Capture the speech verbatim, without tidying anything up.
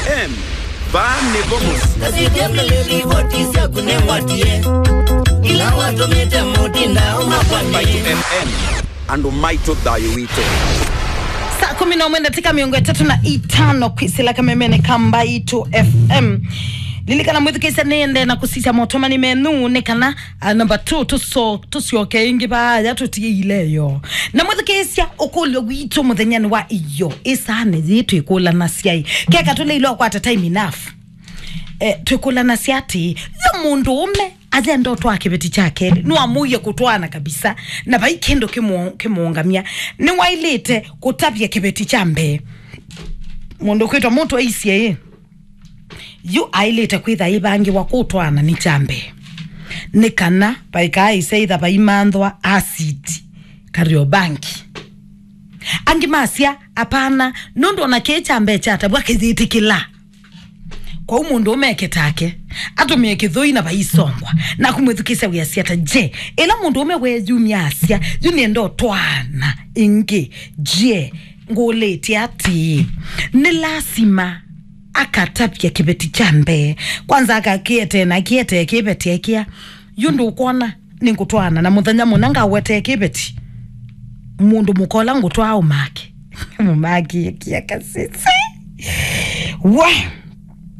M. Vaa nĩvo mũsyĩ. Kasithya mĩlĩ livoti syaku nĩngwatie. Ila watũmĩte mũtinda ũmakwanie. Mbaitũ F M. Andũ maitũ thayũ witũ. Saa kumi na ũmwe ndatĩka mĩongo ĩtatũ na itano kwĩsĩla kamemene ka Mbaitũ F M. Lilikana mwĩthukĩĩsya nĩende na kũsisya motomani menyu nĩ kana, ah, number two, tũso-, tũsyoke ĩngĩ vaaya tũtie ileyo. Na mwĩthukĩĩsya ũkũlyo witũ mũthenyanĩ wa iyo, ĩsaanĩ yĩĩ twĩkũlanasya ĩ? Keka tũleile ũkwata time enough. Eh, twĩkũlanasya atĩ, yo mũndũ ũme ayenda ũtwaa kĩveti kya kelĩ, nĩwamũie kũtwaana kabisa, na vai kĩndũ kĩmũ-, kĩmũũngamya. Nĩwaĩlĩte kũtavya kĩveti kya mbee. Mũndũ kwĩtwa mũtũ aisye ĩ, yu aĩlĩte kwĩtha ĩvangĩwa kũtwaana nĩ kya mbee, nĩ kana vaikaaĩse ĩtha vaimanthwa acid Kariobangi. Angĩ masya, apana, nũndũ ona kĩĩ kya mbee kyatavw'a kĩyĩtĩkĩla. Kwoou mũndũ ũme eke take, atũmĩe kĩthũi na vaisongwa, na kũmwĩthukĩĩsya wĩasya ta, je, ĩla mũndũ ũme weeyumya asya, yu nĩenda ũtwaana ĩngĩ, je, ngũlĩtye atĩĩ, nĩ lasima akatavya kĩveti kya mbee? Kwanza akakĩetee na kĩetee kĩveti ekĩa, yu ndũkwona nĩngũtwaana na mũthenya mũna ngawetee kĩveti, mũndũ mũka ũla ngũtwaa ũmake. Mũmake kia kasisi. We!